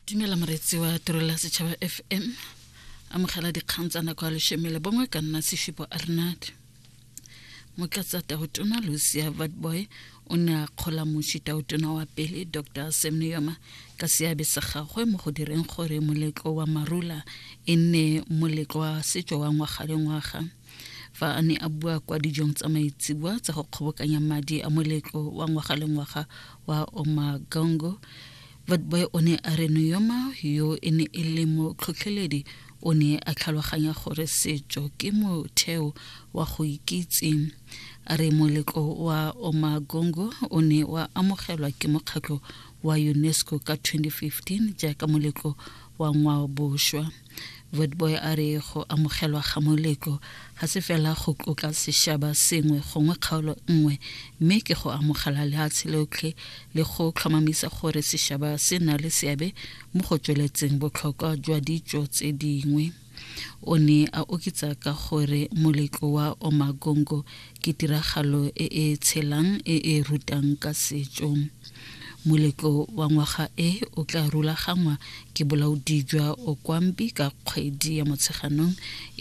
Dumela moreetsi wa Tirelo ya Setšhaba FM. Amogela dikgang tsa nako ya leshome le bongwe ka nna Seshupo Arnard. Motlatsa Tautona Lucia Vatboy o ne a kgola moši Tautona wa pele Dr. Sam Nujoma ka seabe sa gagwe mo go direng gore moletlo wa Marula e nne moletlo wa setso wa ngwaga le ngwaga. Fa a ne a bua kwa dijong tsa maitseboa tsa go kgobokanya madi a moletlo wa ngwaga le ngwaga wa Omagongo, Vatboy o ne a re Nujoma yo e ne e le motlhotlheledi o ne a tlhaloganya gore setso ke motheo wa go ikitse. A re moletlo wa Omagongo o ne wa amogelwa ke mokgatlho wa UNESCO ka 2015 jaaka moletlo wa ngwaobošwa. Witbooi a re go amogelwa ga moletlo ga se fela go tlotla sešaba sengwe gongwe kgaolo nngwe mme ke go amogela lehatshe lotlhe le go tlhomamisa gore sešaba se na le seabe mo go tsweletseng botlhokwa jwa ditso tse dingwe. O ne a oketsa ka gore moletlo wa Omagongo ke tiragalo e e tshelang e e rutang ka setso. Moletlo wa ngwaga e o tla rulagangwa ke bolaodi jwa Okwambi ka kgwedi ya Motsheganong.